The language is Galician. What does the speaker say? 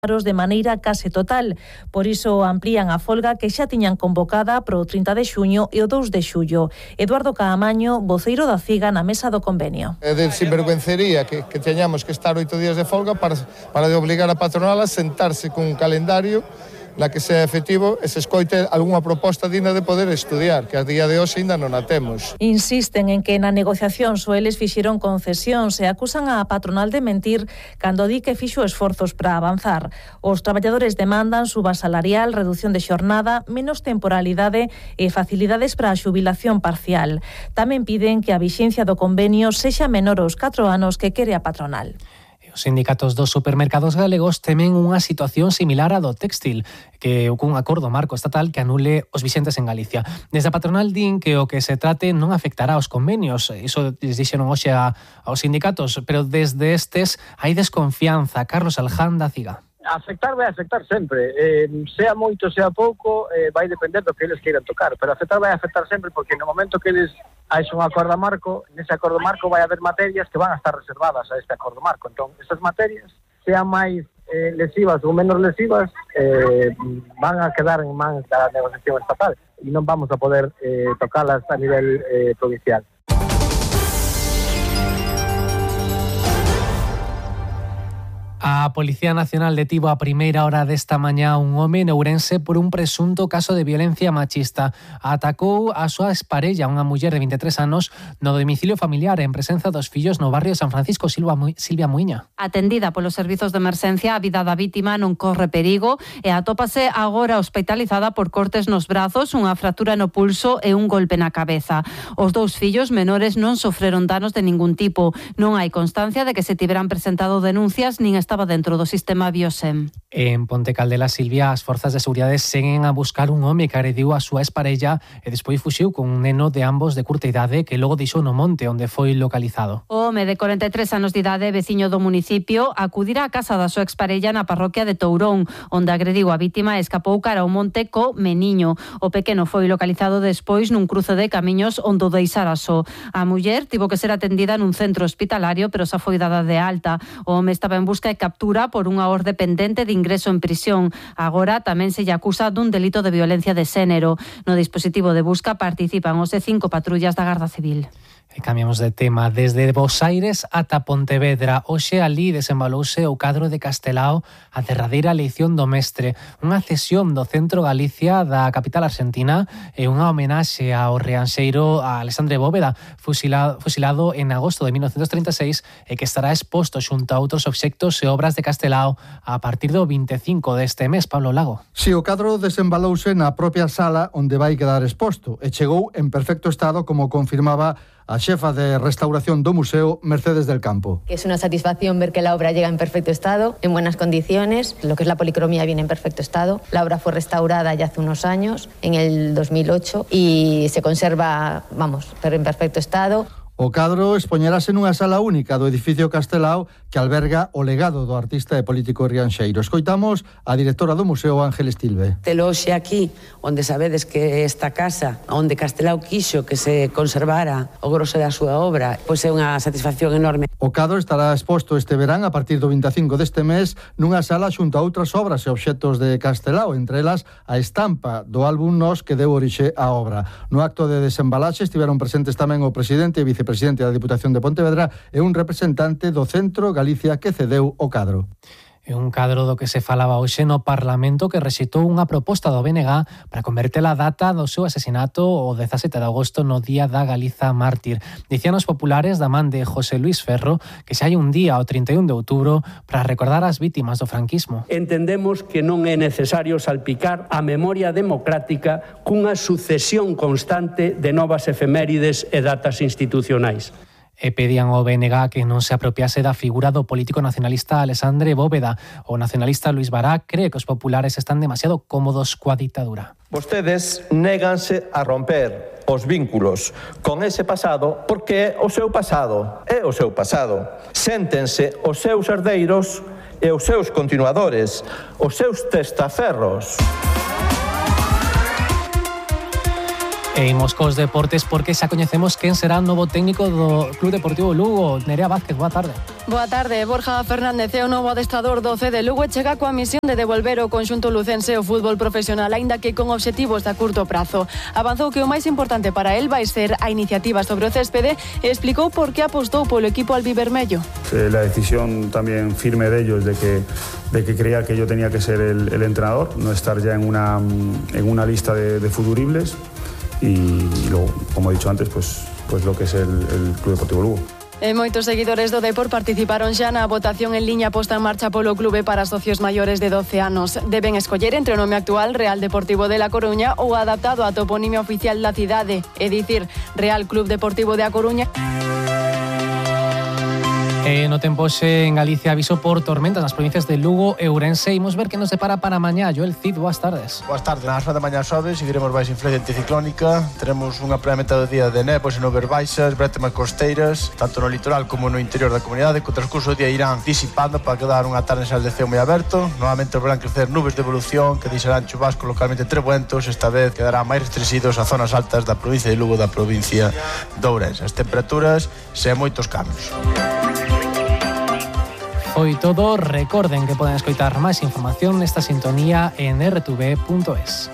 de maneira case total. Por iso amplían a folga que xa tiñan convocada pro 30 de xuño e o 2 de xullo. Eduardo Caamaño, voceiro da CIGA na mesa do convenio. É de sinvergüencería que teñamos que estar 8 días de folga para de obligar a patronal a sentarse cun calendario na que sea efectivo e se escoite algunha proposta digna de poder estudiar, que a día de hoxe ainda non a temos. Insisten en que na negociación só eles fixeron concesións e acusan a patronal de mentir cando di que fixo esforzos para avanzar. Os traballadores demandan suba salarial, reducción de xornada, menos temporalidade e facilidades para a xubilación parcial. Tamén piden que a vixencia do convenio sexa menor aos 4 anos que quere a patronal. Os sindicatos dos supermercados galegos temen unha situación similar á do textil, que cun acordo marco estatal que anule os vixentes en Galicia. Desde a patronal din que o que se trate non afectará aos convenios, iso les dixeron hoxe aos sindicatos, pero desde estes hai desconfianza. Carlos Alján da CIGA. Vai afectar sempre, sea moito, sea pouco, vai depender do que eles queiran tocar, pero vai afectar sempre porque no momento que eles haixen un acordo marco, nese acordo marco vai haber materias que van a estar reservadas a este acordo marco, entón esas materias, sean máis lesivas ou menos lesivas, van a quedar en mans da negociación estatal e non vamos a poder tocalas a nivel provincial. A Policía Nacional detivo a primeira hora desta mañá un home en Ourense por un presunto caso de violencia machista. Atacou a súa exparella, unha muller de 23 anos, no domicilio familiar en presenza dos fillos no barrio San Francisco. Silvia Muiña. Atendida polos servizos de emerxencia, a vida da vítima non corre perigo e atópase agora hospitalizada por cortes nos brazos, unha fractura no pulso e un golpe na cabeza. Os dous fillos menores non sofreron danos de ningún tipo. Non hai constancia de que se tiveran presentado denuncias nin estaba dentro do sistema Biosem. En Ponte Caldela, Silvia, as forzas de seguridade seguen a buscar un home que agrediu a súa exparella e despois fuxiu con un neno de ambos de curta idade que logo deixou no monte onde foi localizado. O home de 43 anos de idade, veciño do municipio, acudira á casa da súa exparella na parroquia de Tourón, onde agrediu a vítima e escapou cara ao monte co meniño. O pequeno foi localizado despois nun cruce de camiños onde o deixara só. A muller tivo que ser atendida nun centro hospitalario, pero xa foi dada de alta. O home estaba en busca e captura por unha orde pendente de ingreso en prisión. Agora tamén se lle acusa dun delito de violencia de xénero. No dispositivo de busca participan os 5 patrullas da Garda Civil. E cambiamos de tema. Desde Bos Aires ata Pontevedra, hoxe alí desembalouse o cadro de Castelao a derradeira eleición do mestre, unha cesión do centro Galicia da capital argentina e unha homenaxe ao rianxeiro a Alexandre Bóveda, fusilado en agosto de 1936 e que estará exposto xunto a outros obxectos e obras de Castelao a partir do 25 deste mes. Pablo Lago. Si, o cadro desembalouse na propia sala onde vai quedar exposto e chegou en perfecto estado, como confirmaba a xefa de restauración do museo, Mercedes del Campo. Es una satisfacción ver que la obra llega en perfecto estado, en buenas condiciones. Lo que es la policromía viene en perfecto estado. La obra fue restaurada ya hace unos años, en el 2008, y se conserva, pero en perfecto estado. O cadro expoñerase nunha sala única do edificio Castelao que alberga o legado do artista e político rianxeiro. Escoitamos a directora do museo, Ángeles Tilbe. Telo hoxe aquí, onde sabedes que esta casa, onde Castelao quixo que se conservara o grosso da súa obra, pois é unha satisfacción enorme. O cadro estará exposto este verán a partir do 25 deste mes nunha sala xunto a outras obras e obxectos de Castelao, entre elas a estampa do álbum Nos que deu orixe á obra. No acto de desembalaxe estiveron presentes tamén o presidente e vicepresidente da Diputación de Pontevedra e un representante do Centro Galicia que cedeu o cadro. É un cadro do que se falaba hoxe no Parlamento que rexeitou unha proposta do BNG para converter a data do seu asesinato o 17 de agosto no Día da Galiza Mártir. Dicían os populares da man de José Luis Ferro que xa hai un día o 31 de outubro para recordar as vítimas do franquismo. Entendemos que non é necesario salpicar a memoria democrática cunha sucesión constante de novas efemérides e datas institucionais. E pedían ao BNG que non se apropiase da figura do político nacionalista Alexandre Bóveda. O nacionalista Luis Bará cree que os populares están demasiado cómodos coa ditadura. Vostedes néganse a romper os vínculos con ese pasado porque o seu pasado é o seu pasado. Séntense os seus herdeiros e os seus continuadores, os seus testaferros. E imos cos deportes porque xa coñecemos quen será o novo técnico do Club Deportivo Lugo. Nerea Vázquez, boa tarde. Boa tarde. Borja Fernández é o novo adestrador do C de Lugo e chega coa misión de devolver o conxunto lucense ao fútbol profesional, aínda que con obxectivos a curto prazo. Avanzou que o máis importante para él vai ser a iniciativa sobre o céspede e explicou por que apostou polo equipo albivermello. La decisión también firme de ellos de que creía que yo tenía que ser el entrenador, no estar ya en una lista de futuribles y luego, como he dicho antes, pues lo que es el Club Deportivo Lugo. E moitos seguidores do Depor participaron xa na votación en liña posta en marcha polo clube para socios maiores de 12 anos. Deben escoller entre o nome actual Real Deportivo de La Coruña ou adaptado á toponimia oficial da cidade, é dicir, Real Club Deportivo de A Coruña. No tempo hoxe en Galicia aviso por tormentas nas provincias de Lugo e Ourense. Imos ver que nos depara para mañá. Joel Cid, boas tardes. Boas tardes. Nas horas da mañá sobe, seguiremos baixo influencia anticiclónica. Teremos unha primeira metade do día de néboas e nubes baixas, brétemas costeiras, tanto no litoral como no interior da comunidade, que o transcurso do día irán disipando para quedar unha tarde en sal de ceo moi aberto. Novamente volverán crecer nubes de evolución que deixarán chubascos localmente trebuentos. Esta vez quedarán máis restringidos as zonas altas da provincia de Lugo, da provincia de Ourense. As temperaturas sen moitos cambios. Foi todo. Recorden que poden escoitar máis información nesta sintonía en rtv.es.